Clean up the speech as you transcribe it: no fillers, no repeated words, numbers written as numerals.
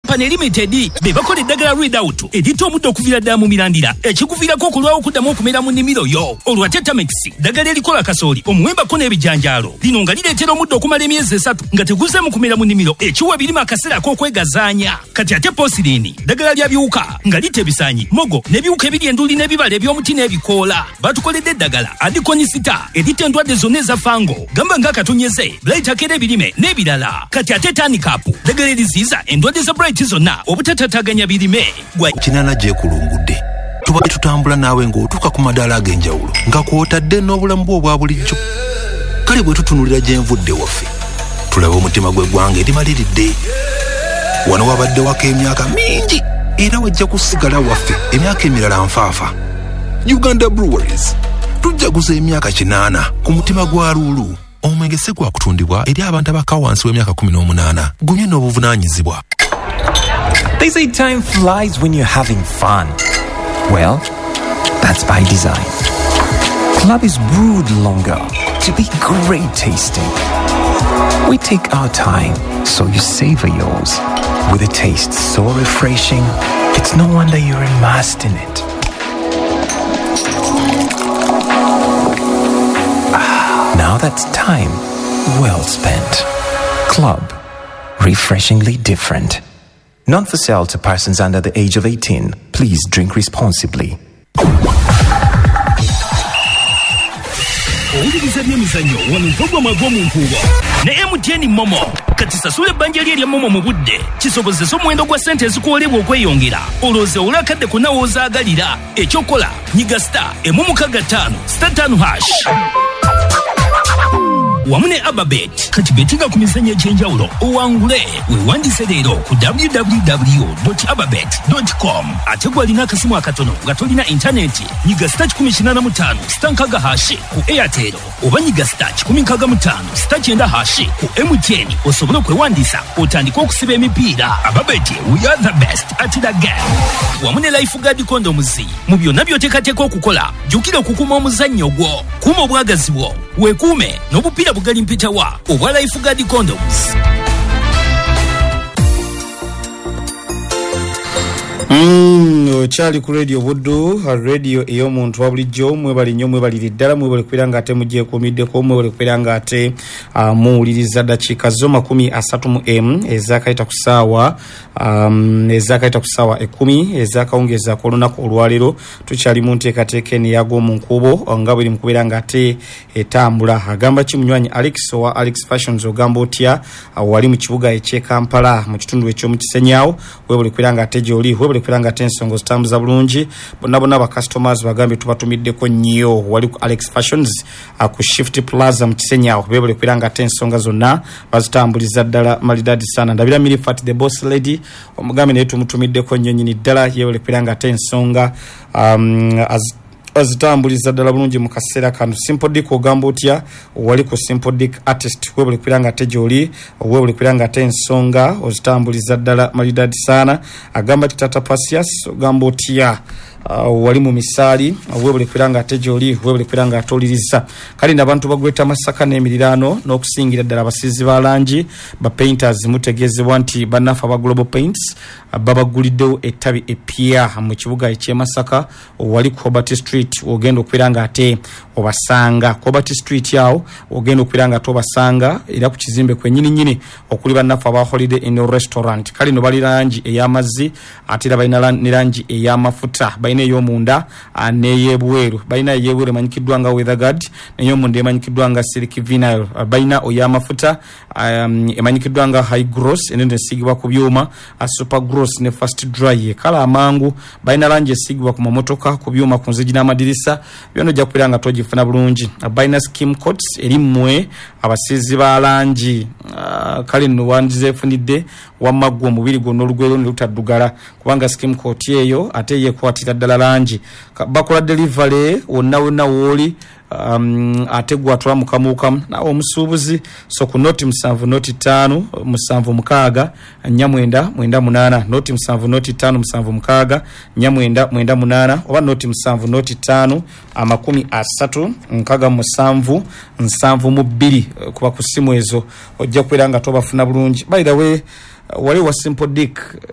Company Limited be bakola eddagala Readout eritta omuddo okuviira ddala mu mirandira, ekikuviirako okulwawo okuddamu okumera mu nnimiro yo. Olwo ate Tamex, ddagala erikola kasooli, omuwembako n'ebijanjaalo, lino nga lireetera omuddo okumala emyezi 3 nga teguzeemu kumera mu nnimiro, ekiwa ebirime akaseera ak'okwegazaanya. Kati ate Posirini, ddagala lya biwuka nga litta ebisaanyi, mogo n'ebiwuka ebiri enduli n'ebibala eby'omuti n'ebikoola. Batukoledde eddagala Adikonisita eritta endwadde zonna eza fango, gamba ng'akatonyeze, blight akera ebirime n'ebirala. Kati ate Tanikapu, ddagala eriziyiza endwadde za blight zonna obutatataganya birime. 8 gyekulungudde tubadde tutambula naawe ng'otuuka ku madaala ag'enjawulo nga kw'otadde n'obulamu bwo obwa bulijjo. Kale bwe tutunulira gye nvudde waffe, tulaba omutima gw'eggwanga erimaliridde. Wano wabadde wako emyaka mingi era wajja kusigala waffe emyaka emirala nfaafa. Uganda Breweries tujjaguza emyaka 8 ku mutima gwa Luulu. Omwenge si gwa kutundibwa eri abantu abakka wansi w'emyaka 18. Gunywe n'obuvunaanyizibwa. They say time flies when you're having fun. Well, that's by design. Club is brewed longer to be great tasting. We take our time so you savor yours. With a taste so refreshing, it's no wonder you're immersed in it. Now that's time well spent. Club, refreshingly different. Not for sale to persons under the age of 18. Please drink responsibly. Owuliriza byemizannyo wano mpogoma gw'omunkuubo ne MTN Momo. Kati sasula ebbanja lye erya Momo mu budde kisobozese omuwendo gwa ssente ezikuwolebwa okweyongera, olowooze owule akadde konna w'ozaagalira. Ekyokola nyiga star 165 star 5 hash wamu ne Ababet. Kati betinga ku mizannyo egy'enjawulo owangule. Weewandise leero ku www.ababet.com. Ate gw'alina akasimu akatono nga tolina intaneti, nyiga star 185 star 6 hash ku Airtel oba nyiga star 165 star 9 hash ku MTN osobole okwewandiisa otandike okusiba emipiira. Ababet, we are the best at the game. Wamu ne Lifeguard condoms. Mu byonna by'oteekateeka okukola, jjukira okukuuma omuzannyo gwo, kuuma obwagazi bwo, weekuume n'obupiira bugali mpitawa obwa Lifeguard condoms. Okyali ku Radio Buddu, radio ey'omuntu wa bulijjo. Mwebale nnyo, mwebalire ddala, mwebale kubeera nga ate mugyekuumiddeko, mwebale kubeera nga ate muwuliriza. Dakiika zo 31 ezakayita ku ssaawa 10 ezakawungeezi ak'olunaku olwaleero. Tukyali mu nteekateeka eno eyag'omu nkuubo nga bweri mu kubeera nga ate etambula. Agamba ki munywanyi Alex owa Alex Fashions? Ogamba otya wali mu kibuga eky'e Kampala mu kitundu eky'omu Kisenyawo? Weebale kubeera nga ate gy'oli, weebale kubeera nga ate ensonga ozitambuza bulungi. Bonna bonna ba customers bagambye tubatumiddeko nnyo wali ku Alex Fashions ku Shift Plaza mu Kisenyawo. Beebale kubeera nga ate ensonga zonna bazitambuliza ddala malidadi sana. Ndabira Milifat the boss lady, omugambe naye tumutumiddeko nnyo nnyini ddala. Yeebale kubeera nga ate ensonga azitambuliza ddala bulungi mu kaseera kano. Simple Dick, ogamba otya wali ku Simple Dick Artist? Weebale kubeera nga ate gy'oli, weebale kubeera nga ate ensonga ozitambuliza ddala malidadi sana. Agamba ki Tata Pasias? Ogamba otya wali mu misaali? Weebale kubeera nga ate gy'oli, weebale kubeera nga ate oliriza. Kale nno abantu ba Greater Masaka n'emiriraano n'okusingira ddala abasiizi ba langi ba painters, mutegeezebwa nti bannaffe aba Global Paints babaguliddewo ettabi epya mu kibuga eky'e Masaka wali ku Hobart Street. Ogenda okubeera nga ate obasanga ku Hobart Street awo, ogenda okubeera nga ate obasanga era ku kizimbe kwennyini nnyini okuli bannaffe aba Holiday Inn Restaurant. Kale no bali langi ey'amazzi, ate era balina ne langi ey'amafuta, balina ey'omunda n'ey'ebweru. Balina ey'ebweru emanyikiddwa nga Weatherguard, n'ey'omunda emanyikiddwa nga Silk Vinyl. Balina oy'amafuta emanyikiddwa nga High Gloss, eno esiigibwa ku byuma, Super Gloss ne Fast Dry ekala amangu. Balina langi esiigibwa ku mamotoka, ku byuma, ku nzigi n'amadirisa, byonna ojja kubeera nga togifuna bulungi. Balina skim coats eri mmwe abasiizi ba langi. Kale nno wandizeefunidde wamma ggwe omubiri gwonna olugwero ne lutaddugala, kubanga skim coat eyo ate yeekwatira ddala langi. Bakola delivery wonna wonna wooli, ate gwatula mukamuukamu naawe omusuubuzi. So ku 0 7 0 5 7 6 4 9 9 8, 0 7 0 5 7 6 4 9 9 8, oba 0 7 0 5 30 67 72. Kuba ku ssimu ezo ojja kubeera nga tobafuna bulungi. By the way, wali wa Simple Dick.